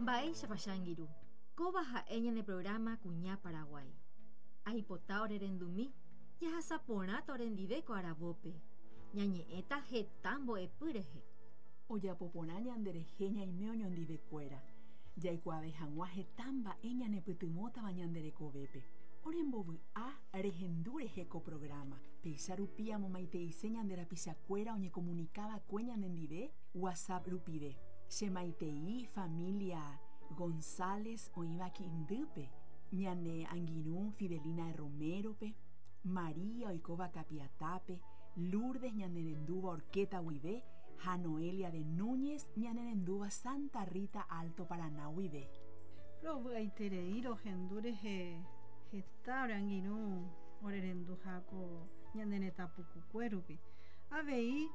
Mba'éichapa che angirũ, kóva ha'e ñane programa Kuña Paraguái. Aipota orerendumi, jahasa porãta orendive ko aravópe. Ñañe'ẽta heta mbo'epy rehe. Ojapo porã ñanderehe ñaime oñondivekuéra, jaikuaave hag̃ua heta mba'e ñanepytyvõtava ñande rekovépe. Orembovy'a rehendu rehe ko programa. Péicha rupi amomaiteise ñande rapichakuéra oñekomunikava'ekue ñanendive WhatsApp rupive. Che maitei familia González oĩva Quiindýpe, ñane angirũ Fidelina Romero-pe, María oikóva Capiatápe, Lourdes ñanerendúva Horqueta guive ha Noelia de Núñez ñanerendúva Santa Rita Alto Paraná guive. Rovy'aiterei rohendu rehe heta ore angirũ orerenduha ko ñane retã pukukue rupi. Avei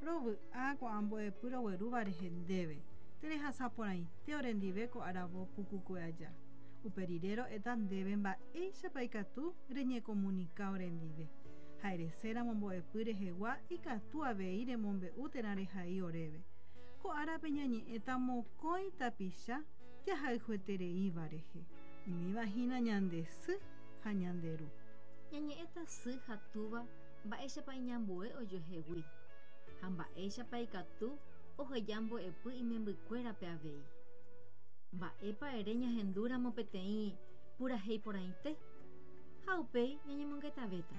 rovy'a ko'ã mbo'epy roguerúva rehe ndéve, terehasa porãite orendive ko aravo pukukue aja. Upe rire ro'éta ndéve mba'éichapa ikatu reñekomunika orendive. Ha ereséramo mbo'epy rehegua ikatu avei remombe'u térã rehai oréve. Ko árape ñañe'ẽta mokõi tapicha jahayhuetereíva rehe, umíva hína ñande sy ha ñande ru. Ñañe'ẽta sy ha túva mba'éichapa iñambue ojuehegui, ha mba'éichapa ikatu oheja mbo'epy imembykuérape avei. Mba'épa ere ñahendúramo peteĩ purahéi porãite? Ha upéi ñañemongetavéta.